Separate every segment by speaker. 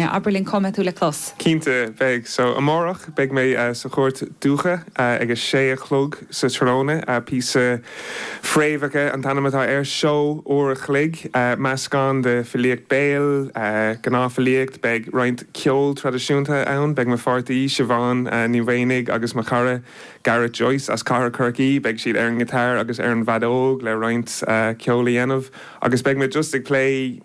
Speaker 1: Abair linn cá mbeidh tú le clos.
Speaker 2: Cinnte, beidh. So, amárach beidh mé sa Chúirt Dúiche ag a sé a chlog sa tráthnóna. Píosa Fréamhacha an t-ainm atá air. Seó uair a chloig, meascán de filíocht béil, gnáthfhilíocht. Beidh roinnt ceol traidisiúnta ann. Beidh mo pháirtí, Siobhán Ní Mhaonaigh agus mo chara Gareth Joyce as Cathair Chorcaí, beidh siad ar an ngiotár agus ar an bhfeadóg le roinnt ceoil a dhéanamh. Agus beidh mé just ag plé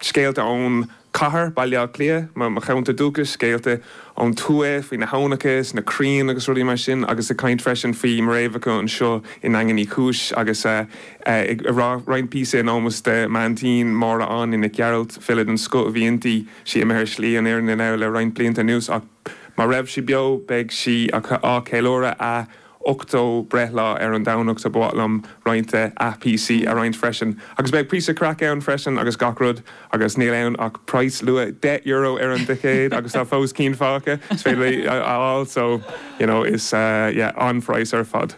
Speaker 2: scéalta ón chathair, Baile Átha Cliath, mo cheantar dúchais, scéalta ón tuath faoi na haibhneacha is na crainn agus rudaí mar sin agus ag caint freisin faoi mo fhréamhacha anseo i nDaingean Uí Chúis agus ag rá roinnt píosa in ómós de m'aintín Máire Áine Nic Gearailt, file den scoth a bhí inti, sí imithe ar shlí an fhírinne now le roinnt blianta anuas ach má raibh sí beo beidh sí á ceiliúradh a 80 breithlá ar an Domhnach so ba mhaith liom roinnt de a píosaí a roinnt freisin. Agus beidh píosa craic ann freisin agus gach rud agus níl ann ach praghas luath €10 ar an dticéad agus tá fós cinn fágtha is féidir a fháil so you know is yeah an-phraghas ar fad.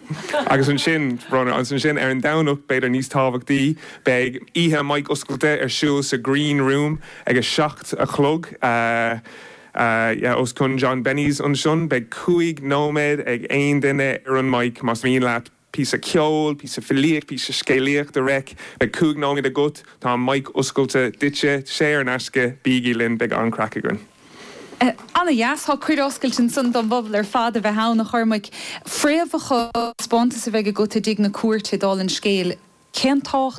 Speaker 2: Agus ansin, Bronagh, agus ansin ar an Domhnach b'fhéidir níos tábhachtaí beidh oíche mic oscailte ar siúl sa Green Room ag a 7 a chlog. Os cionn John Benny's ansin. Beidh 5 nóiméad ag aon duine ar an mic más mian leat píosa ceoil, píosa filíocht, píosa scéalaíocht a reic. Beidh 5 nóiméad agat. Tá an mic oscailte duitse. Saor in aisce. Bígí linn, beidh an-craic againn.
Speaker 1: Ana-dheas. Tá cuireadh oscailte ansan don bpobal ar fad a bheith ann, a Chormaic. Fréamhacha, taispeántas a bheidh agat i dTigh na Cúirte, dála an scéil. Cén tábhacht.